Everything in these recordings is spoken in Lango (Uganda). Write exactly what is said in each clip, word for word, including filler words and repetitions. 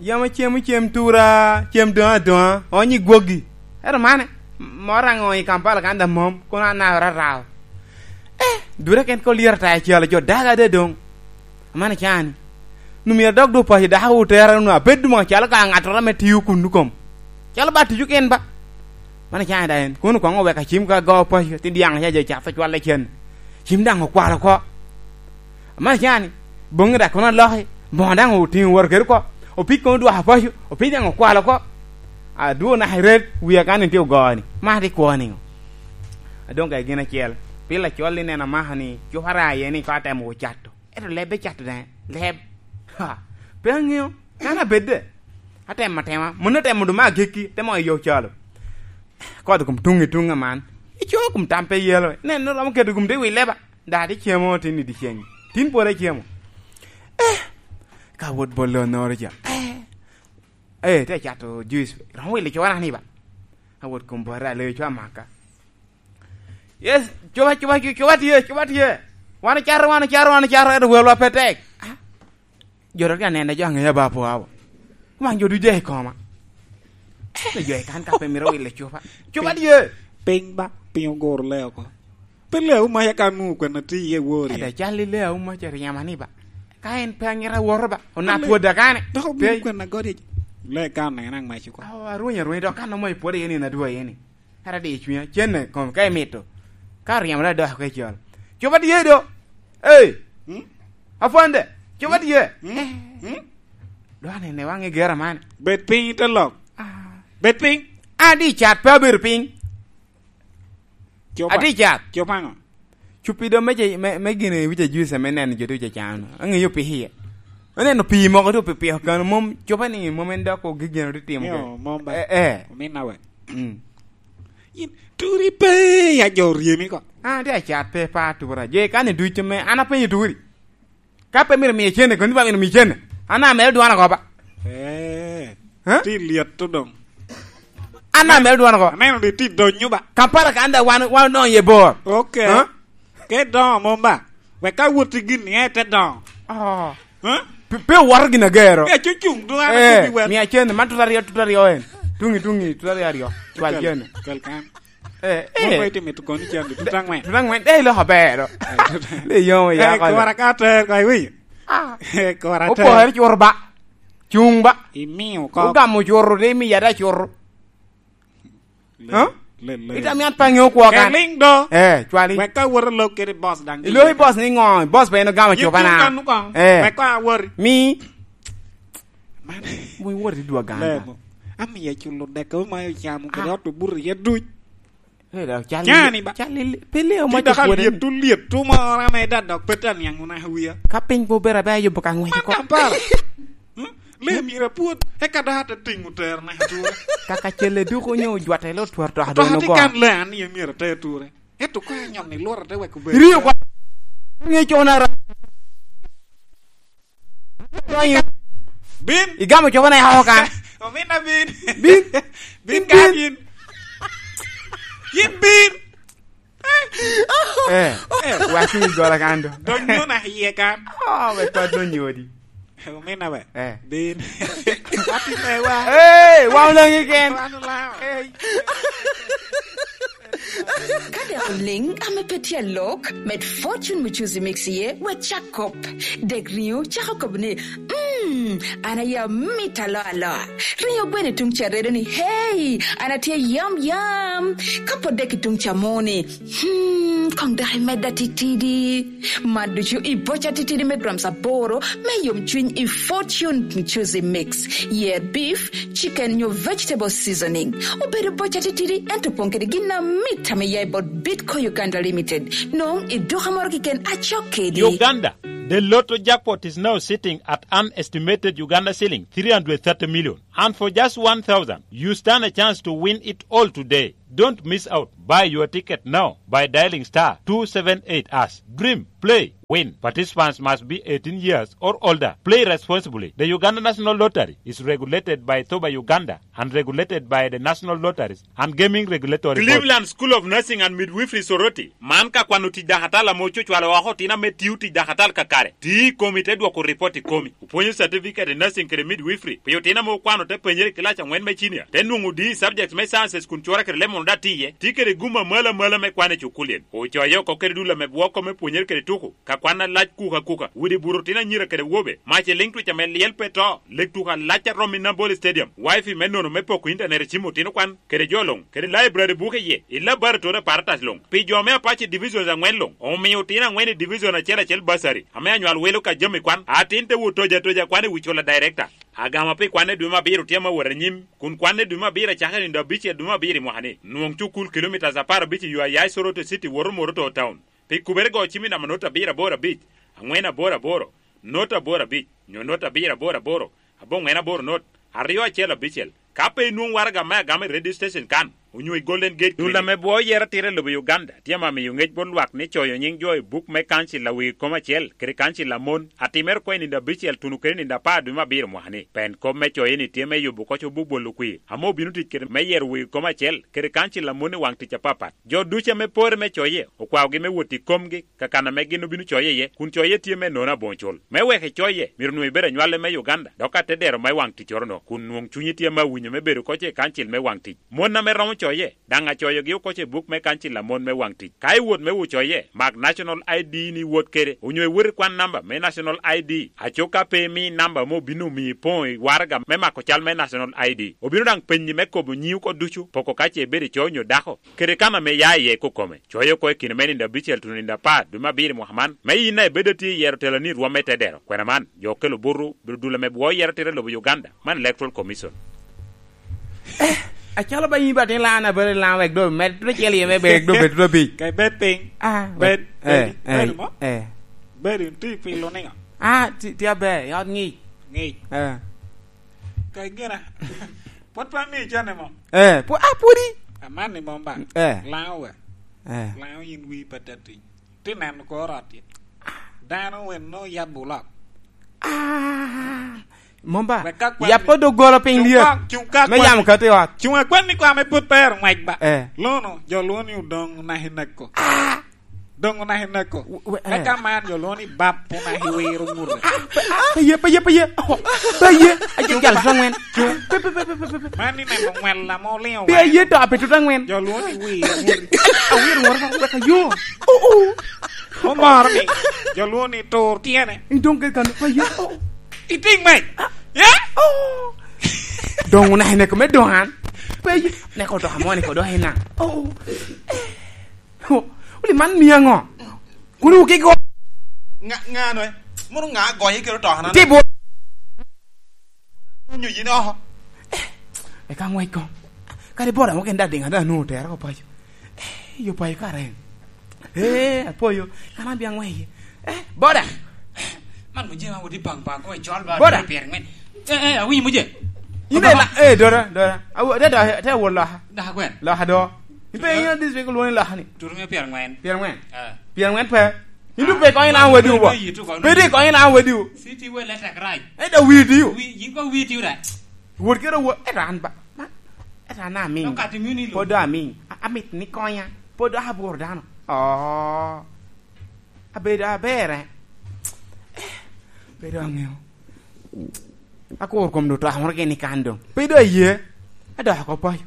Yam acemo cem tura, cem doŋ adoŋa, onyo i gwogi. Ento mane, m-, moro aŋo i Kampala kan daŋ mom, kono anaka rarao. Eh, dura ken ko lyero ta acel, jo daga ade doŋ. Amano cani. Nu myero adok dwogo paco dako otera nu abed mo calo ka ŋattoro ame tio kunnu kom. Calo ba tico ken ba. Mano cani da en, kono koŋ owek acim ka go paco, ti diaŋ ca jo cat ocwalle cen. Cim daŋ okwalo oko. Amano cani, boŋŋi daŋ kono aloki, boŋo daŋ otiŋo wot kede oko, opig kono dwoko paco, opig daŋ okwalo oko. Adwo naka i ret, wia kan en tye ogoo ni, man tye kwo niŋo? Adoŋ ka i gin acel, pil acol ni neno amaka ni, cupa ara iye ni ka atemo ocato, ento leb icato daŋ, leb. Ha, pe aŋeo, kan abedde. Atemo atema, mano atemo doŋ me agikki, te mo i yo calo. Kot i kom tuŋ i tuŋ aman. Ico kom tam pe yelo. Nen, romo keto gum te wi leba. Da, ti cemo tin i dyeceng. Tin pwod acemo. Eh, ka wot bolo onoro ca. Eh, eh, te cato juice. Romo wilo cuwa ni ba. A wot kom bora le cuwa maka. Yes, cuwa, cuwa, cuwa tye, cuwa tye. Wan ocato, wan ocato, wan ocato, ento welwa pe tek. Ah, jo dok anene jo aŋeya ba pwao. Wan jo ducu i koma. Ento jo i kan ka pe mito wilo cupa. Cupa tye. Piny ba, piny oguro le oko. Pe le auma ya ka nu kwena ti iye wori. Ada cal i le auma ce ryema ni ba. Ka en pe aŋira woro ba. Ona pwoda kane. Dok obi kwena godi. Le kan na en aŋ mac oko. Awo, arweny, arweny, dok kan omo i pwoda yeni na dwa yeni. Kara di i cwinya, cenne kom ka imito. Ka oryemo dok dok i col. Cupa tye do. Ei. Hmm? Afande, cupa tye. Hmm? Hmm? Dwa nene waŋe gera man. Bed piny te lok. Ah. Bed piny. An di cat pe abedo piny. Cupa. Ati cat. Cupa ŋo? Cupi do me, me, me gine wica juice me neno jo ducu acano. Aŋeyo pi iye. Oneno pi moko tu pi piko kano mom cupa ni mom en dok ogigeno ti timo. Yo, ke. Mom ba. Eh, eh. Omin na we. Mm. Yin turi pe ya jo ryemi ko. Ah, di acat pe pa tura. Je kan i ducu me, an apenyo turi. Ka pe myero miye cene, kono ba myero miye cene. An amero dwan oko ba. Eh. Eh? Ti lyet to dong. An amero dwan oko. Aneno di ti donyo ba. Kampala kan da wan, wan odonyo ye bor. Okay. Eh? Ke dongo mom ba. Wek ka wot i gin ni ete dongo. Oh. Eh? Pe, pe owoto gin agero. Pe cucung dwan. Eh, miya cene, man tuta aryo, tuta aryo en. Tungi, tungi, tuta aryo aryo. Cwal cene. Kel kan. Eh, eh. Mom itimo i tukon i cen, tuta angwen. Tuta angwen, eh, iloko ber. Eh, tuta. Le yom ya. Eh, kora ka ter, ka iwinyo. Ah. Eh, kora ter. Opore cur ba. Cung ba. Imiyo kop. Ogamo curu, de imiya da curu. Le, huh? Le, le. Ita mian pa ŋeo kwo kan. Ke ling do. Eh, cwali. Wek ka wot alok kede boss daŋ. Ilo i boss ni ŋo? Boss pe en ogamo cupa na. Yin kan nu kong. Eh. Wek ka awori. Mi. Man. Mo iwot i dwa ganga. Lemo. Amiya culo dek omayo camo kede ot obuto iye duc. Eh, da, cal. Cani ba. Cal i, pe le omaco dok kwone. Alyet tu, lyet tu moro ame da dok pe ta niaŋ ona wiya. Ka piny pe obedo abe ayubo ka ŋwec oko. Man Kampala. Hmm? Le myero apwod, eka dok ate tiŋo tero naka tura. Kaka celle duko onyo ojwatte lo twar to adwano go. Ati kan le an ni myero ate tura. Ento ko anyon ni lworo te wek obedo. Rio kwa. Nge cona ra. Bin. Igamo coba na yako kan. Omina bin. Bin. Bin ka bin. Yin bin. Eh, eh, waki mi gola kan do. Donyo na iye kan. Oh, we to donyo di. Omina we. Eh. Bin. Wati me wa. Eh, wa ulangi ken. Wa ulangi. Eh. Ka dek oliŋ ame pe tye alok, med Fortune Mucuzi Mix iye, wek cak kop. Dek riŋo cako kop ni, "Mm, an aye amito aloa aloa." Riŋo gweno i tuŋ ca redo ni, "Hey, an atye yam yam." Ka pwod dek i tuŋ ca mo ni, "Hmm, koŋ dok imedda titidi." Man ducu i boca titidi me grams aboro me yomcwiny i Fortune Mucuzi Mix. Yer beef, chicken nyo vegetable seasoning. Obedo boca titidi, ento opoŋ kede gin amit ame ya i bot Bitco Uganda Limited. Nong i duka moro keken acok kedi. Uganda, the lotto jackpot is now sitting at an estimated Uganda shilling three hundred thirty million. And for just one thousand, you stand a chance to win it all today. Don't miss out. Buy your ticket now by dialing star two seven eight hash. Dream, play. Win, participants must be eighteen years or older. Play responsibly. The Uganda National Lottery is regulated by Thoba Uganda and regulated by the National Lotteries and Gaming Regulatory Board. Cleveland School of Nursing and Midwifery Soroti, man ka kwano tic dakatal ame ocucwalo oko otino ame tio tic dakatal kakare. Ti i komi te dwoko ripot i komi. Opwonyo certificate i nursing kede midwifery pi otino ame okwano te penyere i kilac angwen me cinia, te nwoŋo D i subjects me sciences kun cura kede lemon daŋ tye iye. Tye kede gum amalo amalo me kwan i cukulien. Ocoye oko kede dul ame bwoko me pwonyere kede tuko. Ka kwan alac kuka kuka, widi buto otino anyira kede wobe, mac i liŋ twic ame lyel pe to, lek tuko alac a romo i Nambole Stadium, wifi me nono me poko intanet i cim otino kwan, kede jo luŋ, kede library buke iye, i laboratory apparatus luŋ. Pi jo me Apache Divisions angwen luŋ, omio otino angwen i division acel acel bursary, ame anywal wilo ka jami kwan, atin te wot toja toja kwan i wi cula director. Agama pi kwan i dwe me abiro tye ame wot anyim, kun kwan i dwe me abiro acakere nino abicel dwe me abiro i mwaka ni. Nwoŋ cukul kilomitas apar abic i yo a ya i Soroti City woto Moroto Town. Pi kubere go cim i namba not abiro aboro abic, angwen aboro aboro, not aboro abic, nyo not abiro aboro aboro, aboŋwen aboro not, aryo acel abicel. Ka pe inwoŋ waraga me agama i radio station kan, onyo i Golden Gate Clinic. Dul ame bwoo yero atira i lobo Uganda tye ame amiyo ŋec bot lwak ni coyo nyiŋ jo i buk me kancil a wegi kom acel kede kancil a mon, atimere oko i nino abicel tuno kede nino apar dwe me abiro mwaka ni. Pen kop me coye ni tye me yubo koc obuk bolo kwir, ame obino tic kede me yero wegi kom acel kede kancil a mon i waŋ tic apapat. Jo ducu ame pore me coye, okwaogi me wot i komgi, ka kan ame gin obino coye iye, kun coye tye me nono aboŋo cul. Me wek icoye, myero onwoŋo ibed anywale me Uganda, dok ka te dero me waŋ ticcoro-no, kun nwoŋ cunyi tye ame awinyo me bedo koc i kancil me waŋ tic. Mon ame romo coye, daŋ acoyogi okoc i buk me kancil a mon me waŋ tic. Ka iwot me wo coye, mak National I D ni iwot kede, onyo iwot ikwan namba me National I D. Acuk ka pe imi namba ame obino omiyo ipoŋo i waraga me mako cal me National I D. Obino daŋ penyi me kobo nyiŋi oko ducu, poko ka ce ibedo ico onyo dako, kede kan ame ia iye kokome. Coye oko i kine me nino abicel tuno nino apar dwe me abiro i mwaka man, me yin daŋ ibed atye i yero teloni i rwom me te dero. Kwena man, jo okelo buto, bedo dul ame bwoo yero atira i lobo Uganda, man Electoral Commission. Eh, acalo ba yin ba tin lan, abere lan wek do med tudo cel iye me bed do bed tudo abic. Ka ibed piny. Ah, bed, eh, bed, eh, bed mo? Eh. Bed in tye i pilo niŋo? Ah, ti, ti aber, i ot ŋic. Ŋic. Eh. Ka igena. Pwod pe amiyo icanne mo? Eh, pwo-, ah, pwodi. Aman ni mom ba. Eh. Laŋo we. Eh. Laŋo yin wii pe te tuny. Ti neno kor ot-ti. Dano weno yabo olok. Ah, mom ba. Wek ka kwan yap ni, doggola piny lyet. Cuŋ ka, cuŋ ka me kwan yamo ni, kati ot. Cuŋ akwan ni kwa me pwod pe ero ŋwec ba. Eh. Lono, jo lwongo ni odoŋ naka ineko. Ah. Doŋ onaka ineko. W-, w-, eh. Eka man jo lwongo ni bap onaka iwiro ŋute. Ah, pe, ah, pe ye, pe ye, pe ye. Oh, pe ye. Aje jal tuta ŋwen. Cuŋ. Pe, pe, pe. Man ni neno ŋwella mo liŋo. Pe ye to, pe tuta ŋwen. Jo lwongo ni wiro ŋute. Awiro ŋute, wek ayo. Oh, oh. Omoro ni jo lwongo ni tur tyene. Idoŋ kede kan, pe ye. Oh. Itiŋ me. Ah. Ya? Oh. Doŋ onaka ineko me doŋ an. Pe ye. Neko to amoni ko doŋ ina. Oh. Wuli man mia ŋo? Kun wuki go. Ŋa, ŋa no, eh? Mono ŋa agonye kede otokana? Ti bwot. Nyo yin oko. Eh, eka ŋwec koŋ. Kadi bot amo ken daŋ diŋ adaŋ anwoŋo otera oko paco. Eh, yo paco kara en. Eh, apoyo. Kan an bia ŋwec. Eh, boda. Man mujema wodi bang bang ko icol ba. Boda. Pyer ŋwen. Eh, eh, awinyo muje. Ine la, eh, dora, dora. Awo, te, te, te awol loka. Daka gwen. Loka do. Ipe ina district lwongo ni loka ni. Turu me pyer ŋwen. Pyer ŋwen. Eh. Pyer ŋwen pe. Indu pe konyo na wadi ubo. Pe di konyo na wadi u. City we let a cry. Eh, da widi u. Wi, yin ko widi u da. Wot kero wot. Eh, ran ba. Ma. Eh, ran na amin. Pod amin. A-, amit ni konya. Pod abor dano. Oh. Abedo aber, eh. Eh, bedo aŋeo. Akur kom do twak moro gini kan doŋ. Pe do aye. Adoko paco.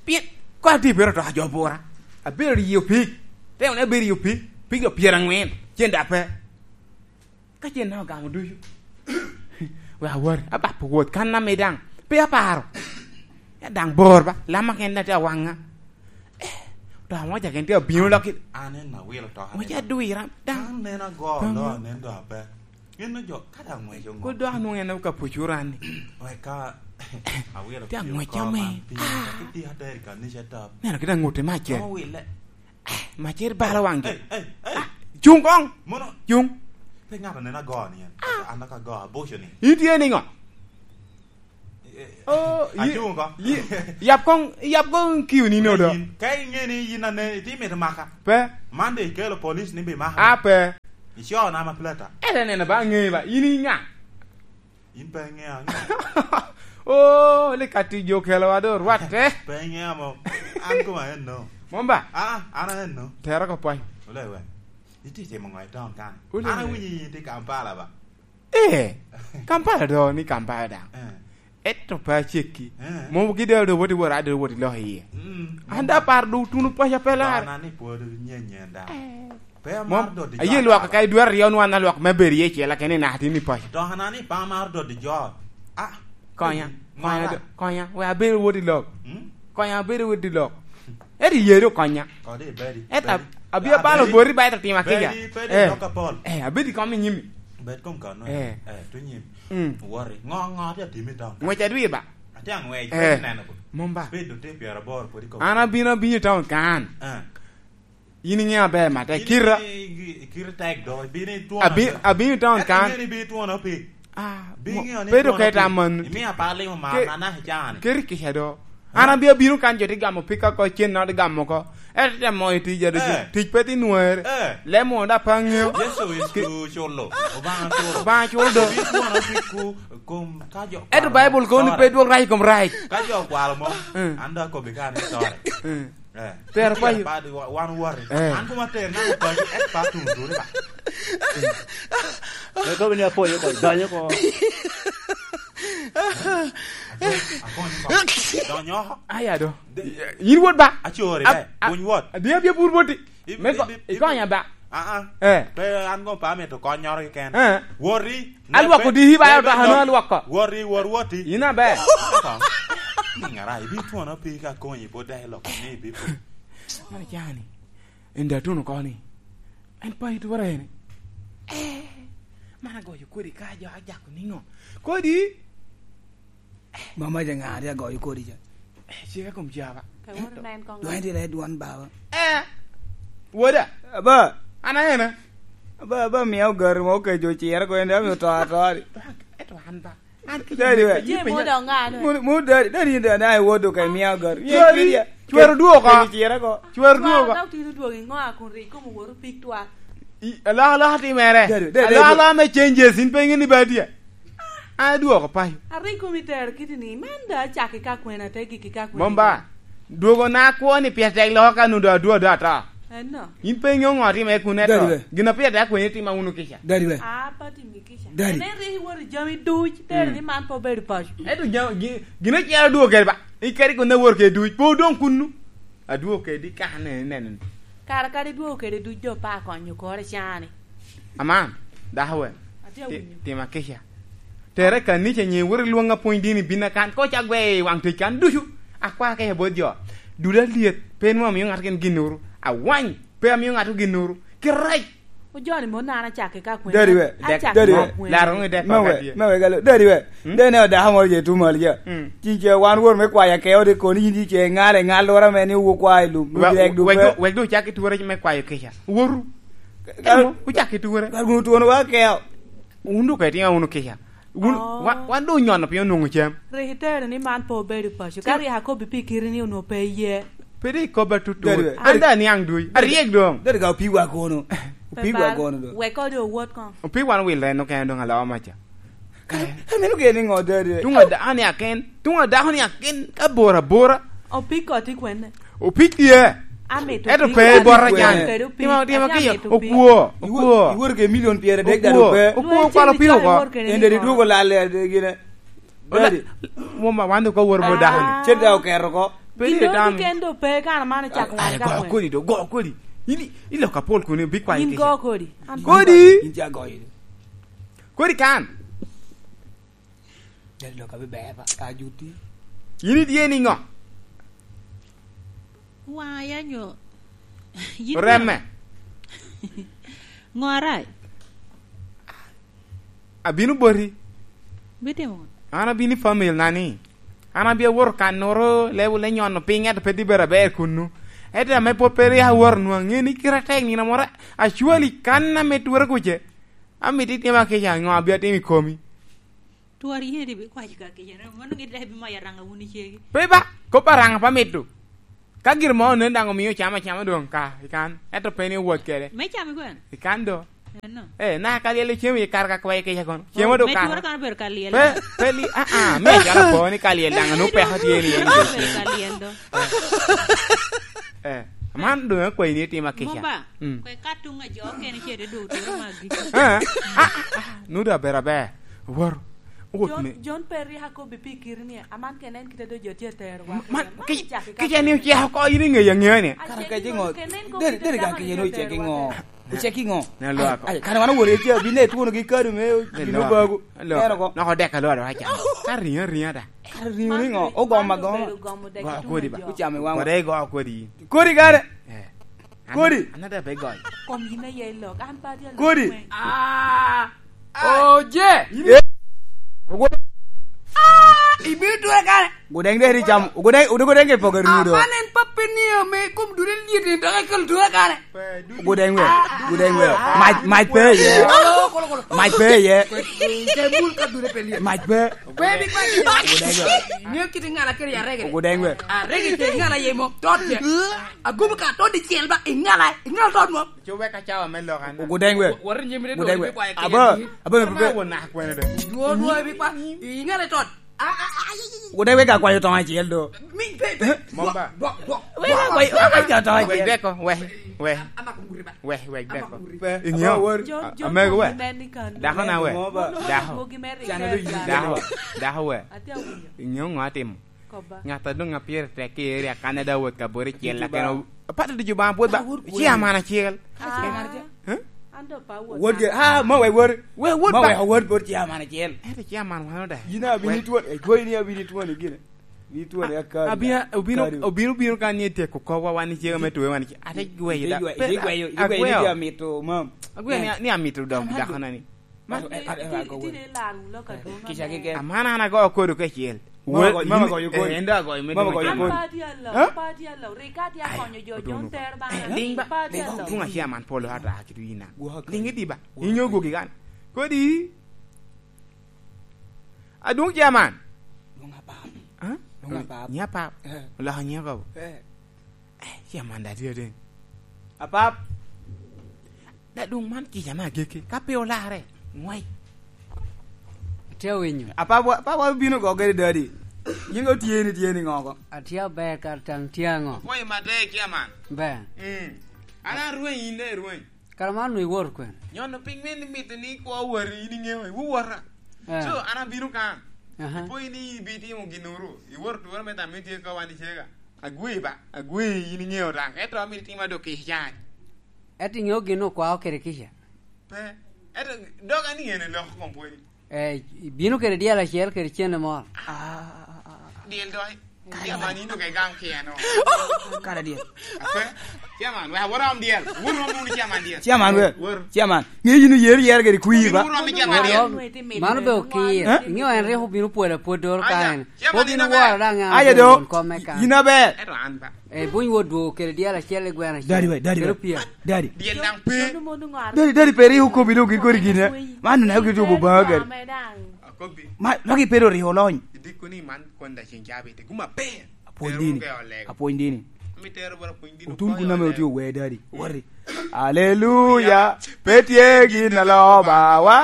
Pien, ko ati bedo to ajo bura. Abedo riyo pig. Te wun abedo riyo pig. Pig do pyeraŋwen. Cen da pe. Ka cen na ogamo ducu. Wek awot, abap wot, kan na me daŋ. Pe aparo. Ya daŋ bor ba. Lama ken na te awaŋa. Eh, to amoca ken tye abino lok i. An en awilo to. Moca adwira, daŋ. An neno ago, daŋ lo, anen do aber. Gin me jo, kadi aŋweco ŋo? Kodi dok anwoŋo en ka pucura ni. Wek ka awilo. Tye aŋweco me. Piny, ah. Ka tye ater i kanica tap. Neno kit aŋute me acel. Awile. Eh, macir balo waŋ jo. Ei, ei, ei. Ah, cuŋ koŋ. Mono. Cuŋ. Pe ŋato neno ago ni en. Ah. An dok ago aboco ni. In tye niŋo? Eh, eh, oh, yi-, acuŋ ko. Yi-, yap koŋ, yap koŋ kiu ni nodo. Ka iŋe ni yin ane, iti mito maka. Pe. Man de ikelo police ni bi maka. Ah, pe. Ico nama plata. Ere neno ba ŋe ba, in i ŋa? In pe iŋeo aŋea. Oh, li kati jo kelowa do rwatte. Pe iŋeo mo. An koma enno. Mom ba? Ah, an enno. Tero ko pwany. Ole we. Iti timo ŋo i taun kan? Ole An we. Awinyo in tye Kampala ba? Eh, Kampala do ni Kampala daŋ. Eh. Eto pe acekki. Eh. Mom gidero do woti wora, do woti lok iye. Mm. An da par do tuno paca pe lar. Ana ni pwod nyenyen da. Eh. Pe amaro dot i jo. Aye lwak ka idwaro riyo nwan na lwak me bedo iye cel, lakini naka tini paco. Dok ana ni pe amaro dot i jo. Ah. Konya, konya, konya, we abedo wot i lok. Hmm? Konya abedo wot i lok. Eri yeri okonya. Kodi bedi. Eta abi abalo bori ba eta tima kiga. Bedi, bedi, eh, doka pol. Eh, abedi kom i nyimi. Bed kom kano. Eh. Eh, tu nyim. Mm. Wori. Ngo, ngo, ati atimi town. Ngwec adwi ba. Ati angwec, eh, neno ko. Mumba. Bedo te piero aboro podi kom. An abino, abino i town kan. Eh. In iŋeo aber, mate, kira. Kira tek do, ibino itwona. Abi-, abino i town kan. Eka iŋeo ni ibino itwona pi. Ah, bedo keta man. Imio apar limo mar, ke-, na, na, icani. Keri kica do. Ha? An abia bino kan jo ti gamo pika ko, cen na ti gamo ko. Ete te mo i tija do, eh, tic pe ti nwere. Eh. Lemo da pa ŋeo. Yesu is ku culo. Obanga culo. Obanga culo do. Obino itwona pi ku, kom ka jo. Eto Bible kono ni pe dwok rac i kom rac. Ka jo kwalo mo, mm, an do akobi ka ni sorry. Mm. Eh, tero payo. Wan wori. Eh. An kuma ter na payo, et pa tun tun ba. Eko ni apoyo ko, donyo ko. Apoyo ko. Donyo. Aya do. De- Yin wot ba. Achori, ab-, eh, a-, buny wot. Adi abia bur boti. Ib-, me ko-, ib-, ib-, ikonya ba. Ah, ah. Eh. Pe an go pa mito konyoro keken. Eh. Wori. Alwako di hiba, eh, ayo dahano alwako. Wori, wor woti. Ina be. Ngara, ibi twona pi ka konyi po dai lok ni ibi po. Mano jani. Enda tuno koni. En pa itwara ene. Eh. Mana goyo kodi ka jo ajako ningo. Kodi. Mama ja ŋa ri agoyo kodi ca? Eh, cika kom jaba. Ka woto na en koŋ. Dwany ti red one baba. Eh. Woda. Aba. An aena. Aba, aba mia ogari mo kejo cira ko en dami oto ato ari. Eto an ba. An ki Daddy we. Ye mo dong ŋa no? Mo, mo daddy, daddy da na wodo ka mia ogari. Ye Daddy, kidia. Chwero duogo. Kejo cira ko. Chwero duogo. Dok tino duogo ingo a kun ri komo woru pik twa. I, alokaloka timere. Daddy, daddy, alokaloka me changes, in pe iŋe ni ba tye. Adwoko paco. Aringo mitero kiti ni, man da acakki ka kwena, te gikki ka kwena. Mom ba, dwogo na akwo ni pyer tek loko ka nudo adwo do ata. Eno. In pe iŋeo ŋo timere kun eto. Daddy we. Gin a pyer tek akwenyi tima wunu kica. Daddy we. Ah, pa timi kica. Daddy. Ene rik iwot i jami duc, tere ni man pe obedo paco. Eto ja-, gi-, gin ocel adwogo kede ba, ikeri kun awor kede duc, pe odong kunnu. Adwogo kedi kaka ne, neno ni. Kara kadi dwogo kede duc jo pa konyo kore cani. Aman, dako we. Atye ti-, awinyo. Tima kica. Tere kanica nyen wot ilwong apwony dini bin akan. Ko ca gwe i wang tic kan ducu. Akwa kica bot jo. Duda lyet. Pe nwa amiyo ŋat ken ginnoro. Awany. Pe amiyo ŋat ginnoro. Kirac. Ojoni mo nana cake ka kwena. Daddy we. Dek, acake daddy ka we. Kwena. Laro ngi dek me we, kaka tye. Me we galo. Daddy we. Hmm? Dene odako moro je tumal ja. Hmm. Ci ce wan wor me kwaya ke ode koni yin ce ŋale ŋal lora me ni wo kwa i lum. Wa-, dek du wek pe. Du, wek du cak i ture me kwayo kica. Woru. Ka-, ka-, ucak i ture. Ka gun tuono wa keo. Un du ka itimo unu kica. Wun, oh. Wa-, wan doŋ onyono piny onwoŋo cam. Rik itero ni man pe obedo paco. Ka rik akobi pi kite ni onwoŋo pe iye. Pe doŋ ikoba tutut. Daddy, an doŋ aniaŋ duc. Aryek doŋ. Daddy ka opiwa kono. Opiwa kono doŋ. Wek kodi owot koŋ. Opi wan wil reno kene doŋ aloo maca. Ka, ka meno geni ŋo daddy? Tuŋ ada-, an i aken. Tuŋ adako ni aken ka bor abora. Opik koti kwene? Opik tye. Amito. Eto opik pe koti bora kwene? Can. Kede opik. Tima, tima kiyo. Amito opik. Okwo, iwo-, okwo. Iwor ke milion pyera dek dano pe. Okwo, okwo, kwalo piny oko. Ende di dwogo lal, eh, gine. Ola-, daddy. Muma, wan dok awor mo dako ni. Ah. Cen da oketo ko. Pe gin di doŋ dano. Keken do pe kan man ocako wan ka kwene? Go kodi do, go kodi. In, in lok apol kuni, bi kwany kica. In go kodi. An kodi. In ca goyo. Kodi kan. Daddy lok abi ber ba, ka juti. In itye niŋo? Waŋa ya nyo. Yin remme. Ŋo arac? Abino boti. Bitimo ŋo? An abino i family na ni. An abia woto kannoro, level le nyono piny, ento pe dibera ber kunnu. Ento ame pwod pe rik awoto nwa, ŋe ni kite atek nino moro, actually, kan ame twere kuce, amito itima kica, ŋo abia timo i komi? Twari yeni bikwaco ka kica, mano gin daŋ ibimayo Araŋa wun icegi. Pe ba, kop Araŋa pe amito. Ka gin mo onen daŋ omio cam acama doŋ ka, ikan. Ento pe ni owot kede. Me cam ikwano? Ikan do. Eno. Eh, na ka lyel cem i kar ka kwayo kica kono. Cem odok kar. Me tura kan obedo ka lyel. Pe, pe li, ah, ah, me jara po ni ka lyel daŋ, anu peko tye ni en. Obedo ka lyel do. Eh, man doŋ akwayi ni itima kica. Moba, mm, kwe ka tuŋ a jo okene ce te dogo turo magi. Eh, ah, ah, ah, nudo aber aber. Wor. Wot John, me. John Perry ha kobbi pi kiri ni, aman kene en kite do jo tye tero wa. Man, ki, kica ni oceko oko, in iŋeyo aŋeya ni. Kara ka jiŋo, deri, deri ka kica ni oceko iŋo? Ocek iŋo? Ne lwak. Ai, ai, kane wan oworo i Ethiopia, bino etwono gi kado me bino bago. Eno ko. Nok odek alwada waca. Ka riŋo, riŋo da. Ka riŋo, riŋo. Ogoma, goma. Go kodi ba. Ocamo i waŋwa. Kodi go kodi. Kodi kare. Eh. Kodi. Another big guy. Kom yin aye lok, an pa dya lok. Kodi. Ah. Oje. Eh. Ah, ibino tura kare. Gudeng deri cam, gudeng, udu gudeng ke pogo rudo. Aman en pappe ni ame kom dure liet ni dok ekelo tura kare. Gudeng we, gudeng we. Mac, mac pe ye. Kolo, kolo, kolo. Mac pe ye. Kwe, kwe, kwe, mul ka dure pe liet. Mac pe. Kwe bi kwe. Gudeng we. Ng'eyo kit ŋala kede arege. Gudeng we. Arege kede ŋala ye mo. Tot ye. Agobo ka tot dicel ba, iŋala, iŋala tot mo. Cu wek acawa me lok an. Gudeng we. Wot i nyim ri Gudeng we. Aba, aba, aba. Won nak kwene de. Dwo, dwo, ibi kwa. Iŋala tot. Ah, ah, ah, ah, ah. Gudeng we ka kwayo tong acel do. Mi, pe, pe. Mom ba. Dwok, dwok, dwok. We ka kwayo, we ka kwayo tong acel. Wek deko, we, we. Amako nguri ba. We, we deko. Amako nguri. Pe, iŋeo. Aba, wor. John, John, amego we. Dako na we. Mom ba. Dako. Dako, dako we. Atye awinyo. Iŋeo ŋo atimo? Kobba. Ŋat a doŋ a pire tek i area Canada wot ka bot icel, lakin o-, apato ducu Obaŋa pwod ba, ci aman acel. Ah. Huh? An doŋ pa wot. Wot ge, ah, ma wek wot. We wot ba. Ma wek wot bot ci aman acel. Ento ci aman wan oda. Yin abino itwon, eh, gwoyi ni abino itwon i gine. Abino itwon i akari. Abino, obino, obino kan ni etyeko kobwa wan icega me tuwe wan ice. Ate gweyo da. Ite gweyo, ite gweyo, ite gweyo ni amito, mam. Agweyo ni, ni amito dok dako na ni. Man, eh, eh, eh, itye, itye ni laro lok adwoŋ. Kica keken. Aman an ago kodo kacel. Mama goyo kodi. Eh, en dok agoyo me. Mama goyo kodi. An pa tye alok, pa tye alok. Rik ka tye akonyo jo, jo tero bana. Ling ba, pa tye alok. Adwoŋ acaman polo ata kitu ina. Ling idi ba. Inyo gogi kan. Kodi. Adwoŋ caman. Dwoŋ apap. Ha? Dwoŋ apap. Nya pap. Eh. Oloko nya kabo. Eh. Eh, caman da tye adwoŋ. Apap. Da doŋ man kica me agikki, ka pe olarre, ŋwec. Atye awinyo. Apa wa, apa wa bino go gede dadi? Yin go tye ni, tye ni ŋo go? Atye aber kara taŋ tye aŋo? Okwayo matek tye aman. Ber. Mm. An arweny, in daŋ irweny. Kara man onwoŋo iwoto kwene? Nyono piny me ni mito ni kwo wot, in iŋeo, iwuwota. Eh. So, an abino kan. Aha. Ipo in ibitimo ginnoro, iwoto tura me tam itye ka wan icega. Agwe ba, agwe in iŋeo daŋ, ento amito itima dok i can. Ento iŋeo gin okwao kede kica? Pe. Ento dog an iŋeo ni lok kom pwony. Eh, ibino kede dyel acel kede cene moro. Ah, dyel doŋ. Dyel man in dok igam keno. Kara dyel. Ape? Chairman, wek awor om dyel. Wor om wunu chairman dyel. Chairman, we. Wor. Chairman. Ŋe yin oyero yero kede kwir ba? Wor om chairman dyel. Mano be okir. Eh? Iŋeo en rik obino pwolo apwod doro ka en. Chairman, in aber. Obino woro daŋ en. Aye do. Yin aber. Ento an ba. Eh, buny wot dwogo kede dyel acel i gweno acel. Dadi we, dadi we. Kede opia. Dadi. Dyel daŋ pe. Dadi, dadi pe rik okobi doŋ gin kodi gin, eh. Man neno gin tubo baŋa gadi. Akobi. Ma, dok ipedo rik olony. Idiko ni man kwon da ceng cabit. Guma pe. Apwony dini. Apwony dini. Mi tero bara pwony dini. Otun kun ame otye ower dadi. Wari. Aleluya. Pe tye gin a loba wa.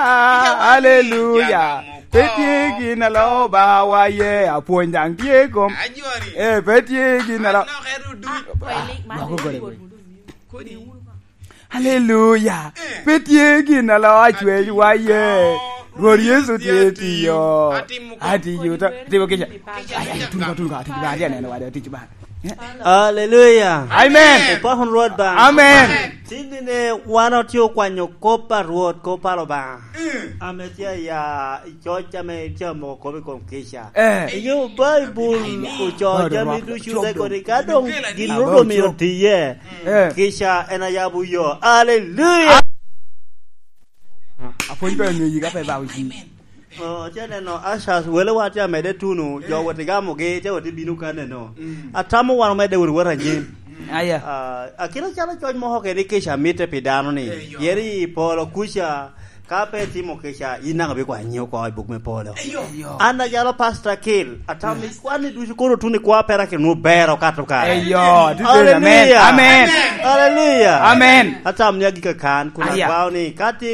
Aleluya. Pe tye gin a loba wa ye. Apwony daŋ tye kom. Ajwari. Eh, pe tye gin a lo-, lok ero duc. Loko gole gwe. Kodi. Aleluya. Eh. Pe tye gin a lo acwec wa ye. Rwot Yecu tye tiyo. Atimo kom. Atiyo ta, atimo kica. Ay, ay, tun ka, tun ka, tun ka, atye aneno wade, atic ba. Eh? Aleluya. Amen. Opako Rwot ba. Amen. Tin nene wan otye okwanyo kop a Rwot, kop a Lubanga. Mm. Ame tye aya i coc ame tye amoko kop i kom kica. Eh. Inyo Baibul oco jami ducu te kodi ka dong gin Rwot omio tiye. Eh. Kica en ayabo yo. Aleluya! Apwony pe onyo yiga pe ba oji. Oh, ce neno, ushers, wele wa tye amede tuno, jo wot igamogi, ce wot ibino ka neno. Mm. Atamo wan omedde wot wot anyim. Mm. Aya. Ah, akina calo coc moko kede kica mitte pi dano ni, eh, yo. Yeri i polo kuca, Ka pe itimo kica, in daŋ ibikwayo nyiŋ oko i buk me polo. An acalo Pastor Kil, atamo ni kwan i ducu kono tuno i kwa pera ke nwoŋo ber okato kare. Eyo, tutu, amen, amen. Hallelujah. Amen. Atamo ni agika kan, kun akwao ni, ka tye